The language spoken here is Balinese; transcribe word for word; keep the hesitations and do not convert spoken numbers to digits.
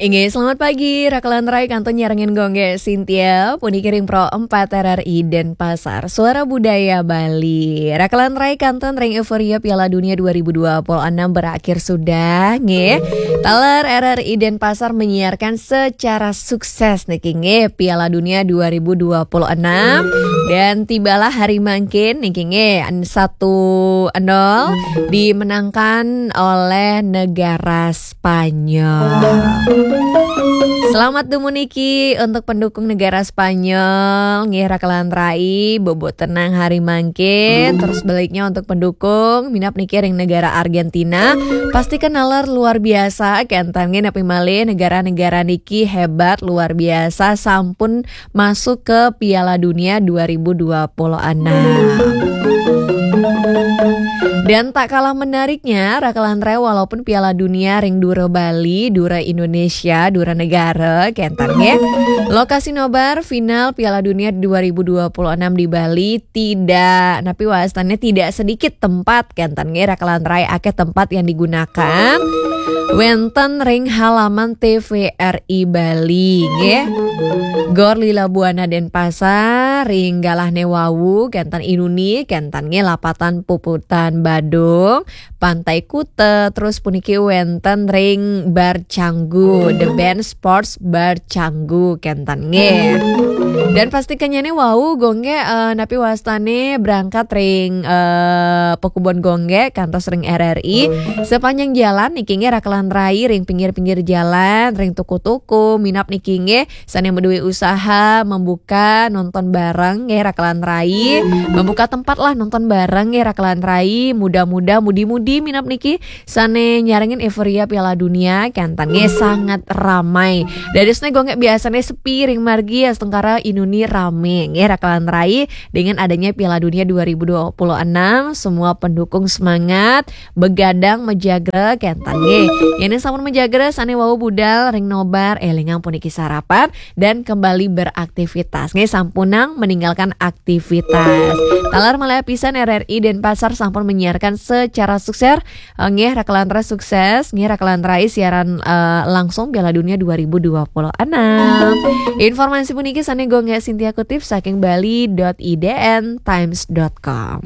Inggih, selamat pagi. Raka lan rai kantun nyarengin Gung Gé Sintia, puniki ring Pro empat R R I Denpasar, Suara Budaya Bali. Raka lan rai kantun ring euforia Piala Dunia dua ribu dua puluh enam berakhir sudah, nggih. Taler R R I Denpasar menyiarkan secara sukses niki, nggih, Piala Dunia dua ribu dua puluh enam. Dan tibalah hari mangkin niki, nggih, satu nol dimenangkan oleh negara Spanyol. Selamat dumuniki untuk pendukung negara Spanyol, nggih, Raka lan rai, bobo tenang hari mangkin, terus baliknya untuk pendukung minab niki ring negara Argentina, pasti kenaler luar biasa, kenten nggih, napi malih negara-negara niki hebat luar biasa, sampun masuk ke Piala Dunia dua ribu dua puluh enam. Dan tak kalah menariknya, Raka lan rai, walaupun Piala Dunia ring dura Bali, dura Indonesia, dura negara, kenten nggih. Lokasi nobar final Piala Dunia dua ribu dua puluh enam di Bali tidak, napi wastannya, tidak sedikit tempat, kenten nggih, Raka lan rai, akeh tempat yang digunakan. Wenten ring halaman T V R I Bali, nggih. Gor Lila Buana Denpasar, ring galahne wau, kenten inuni, kenten nggih, Lapatan Puputan Badung, Pantai Kuta, terus puniki wenten ring Bar Canggu, The Band Sports Bar Canggu, kenten nggih. Dan pasti kenyane wau, Gung Gé, eh, napi wastane berangkat ring, eh, Pekubon Gung Gé, kantos ring R R I. Sepanjang jalan niki, nggih, Raka lan rai, ring pinggir-pinggir jalan, ring toko-toko, minab niki, nggih, sane maduwe usaha membuka nonton bareng, nggih, Raka lan rai, membuka tempat lah nonton bareng, nggih, Raka lan rai, muda-muda, mudi-mudi, minab niki sane nyarengin euforia Piala Dunia, kenten nggih, sangat ramai. Dadosne Gung Gé, biasane sepi ring margi, astungkara inuni rame, nggih, Raka lan rai, dengan adanya Piala Dunia dua ribu dua puluh enam, semua pendukung semangat, begadang majagra, kenten nggih. Yene sampun majagra, sane wau budal ring nobar, elingang puniki sarapan dan kembali beraktivitas, nggih, sampunang meninggalkan aktivitas. Taler malih pisan, R R I Denpasar sampun menyiarkan secara sukses, eh, nggih, Raka lan rai, sukses, nggih, Raka lan rai, siaran, eh, langsung Piala Dunia dua ribu dua puluh enam. Informasi puniki sane Gung Gé Sintia kutip saking bali dot I D N times dot com.